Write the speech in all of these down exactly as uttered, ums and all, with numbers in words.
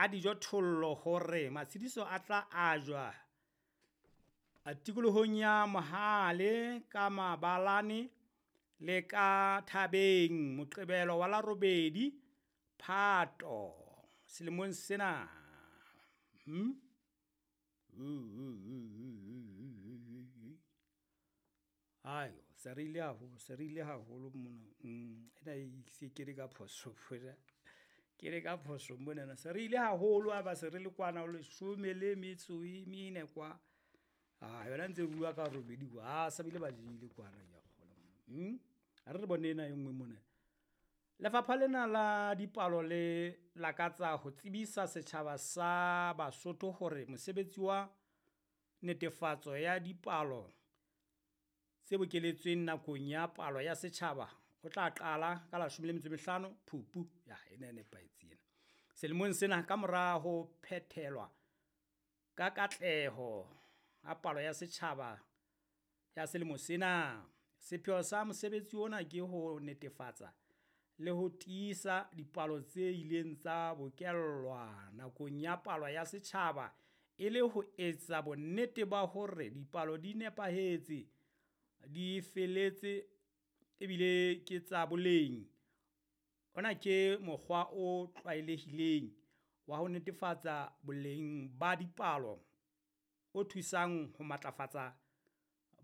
a dijothollo hore matshediso a tla ajwa tikolohong ya Mohale ka Mabalane le ka Thabeng Moqebelo wa la robedi Phato selemong sena. Hmm? Ayo, se re ile haholo, se re ile haholo mona. Mm, ena e se kene ka phoso mona. Kene ka phoso monana. Se re ile haholo ha ba se re le kwana ho leshome le metso e mene kwa. Ah, yona ntse bua ka robedi kwa. Ah, sa bile ba jele kwana ke a kgolwa. Hmm? Ha re re bone ena e nngwe mona. Lefapha lena la dipalo le lakatsa ho tsebisa setjhaba sa Basotho hore mosebetsi wa netefatso ya dipalo tse bokeletsweng nakong ya palo ya setjhaba o tla qala ka la leshome le metso e mehlano Phupu, ya ena e nepahetse ena. Selemong sena kamora ho phethelwa ka katleho ha palo ya setjhaba ya selemo sena. Sepheo sa mosebetsi ona ke ho netefatsa le ho tiisa dipalo tse ileng tsa bokellwa nakong ya palo ya setjhaba e le ho etsa bonnete ba hore dipalo di nepahetse, di feletse ebile ke tsa boleng. Ona ke mokgwa o tlwaelehileng wa ho netefatsa boleng ba dipalo o thusang ho matlafatsa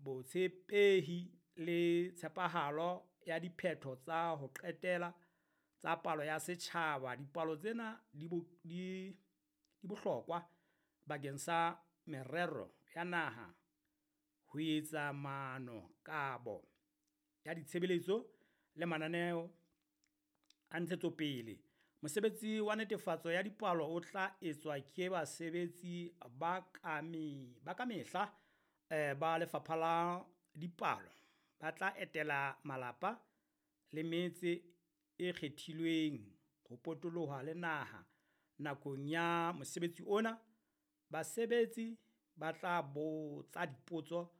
botshepehi le tshepahalo ya diphetho tsa ho qetela tsa palo ya setjhaba. Dipalo tsena di bo, di, di bohlokwa bakeng sa merero ya naha ho etsa maano, kabo ya ditshebeletso le mananeo a ntshetsopele. Mosebetsi wa netefatso ya dipalo o tla etswa ke basebetsi ba ka me, ba ka mehla eh, ba Lefapha la Dipalo. Ba tla etela malapa le metse e kgethilweng ho potoloha le naha nakong ya mosebetsi ona. Basebetsi ba tla botsa dipotso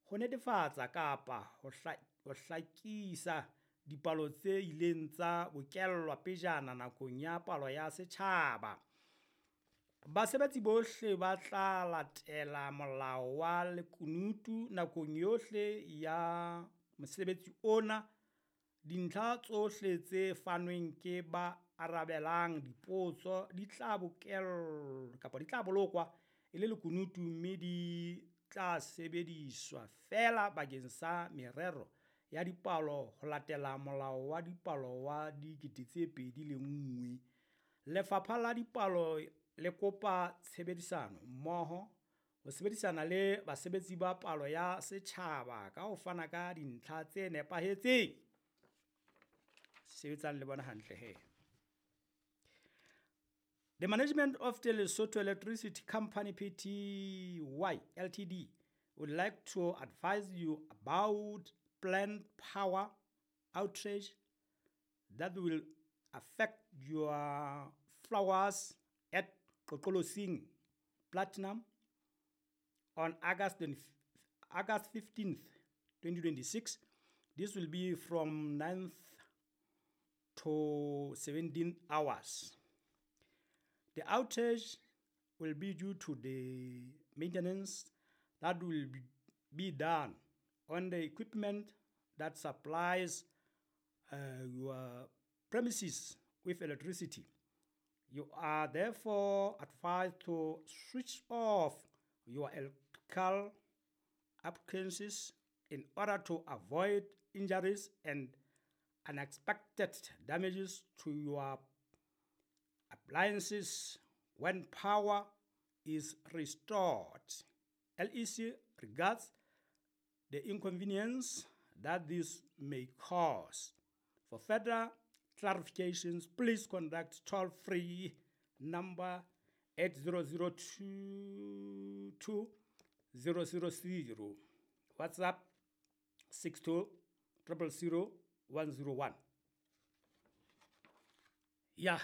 ho netefatsa kapa ho hla, ho hlakisa dipalo tse ileng tsa bokellwa pejana nakong ya palo ya setjhaba. Basebetsi bohle ba tla latela molao wa lekunutu nakong yohle ya mosebetsi ona. Dintlha tsohle tse fanweng ke ba arabelang dipotso di tla bokellwa kapa di tla bolokwa e le lekunutu mme di tla sebediswa feela bakeng sa merero ya dipalo ho latela Molao wa Dipalo wa dikete tse pedi le nngwe. Lefapha la Dipalo le kopa tshebedisano mmoho ho sebedisana le basebetsi ba palo ya setjhaba ka ho fana ka dintlha tse nepahetseng. Sebetsang le bona hantle he. The management of the Lesotho Electricity Company P T Y L T D would like to advise you about planned power outage that will affect your flowers at Qoqolosing Platinum on August twenty, August fifteenth, twenty twenty-six. This will be from ninth to seventeen hours. The outage will be due to the maintenance that will be, be done on the equipment that supplies, uh, your premises with electricity. You are therefore advised to switch off your electrical appliances in order to avoid injuries and unexpected damages to your appliances when power is restored. L E C regards the inconvenience that this may cause. For further clarifications, please contact toll-free number eight zero zero two two zero zero zero, WhatsApp six two triple zero one zero one. Ya,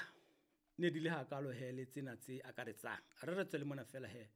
ne di le hakalo he le tsena tse akaretsang. Re re tswele mona fela he.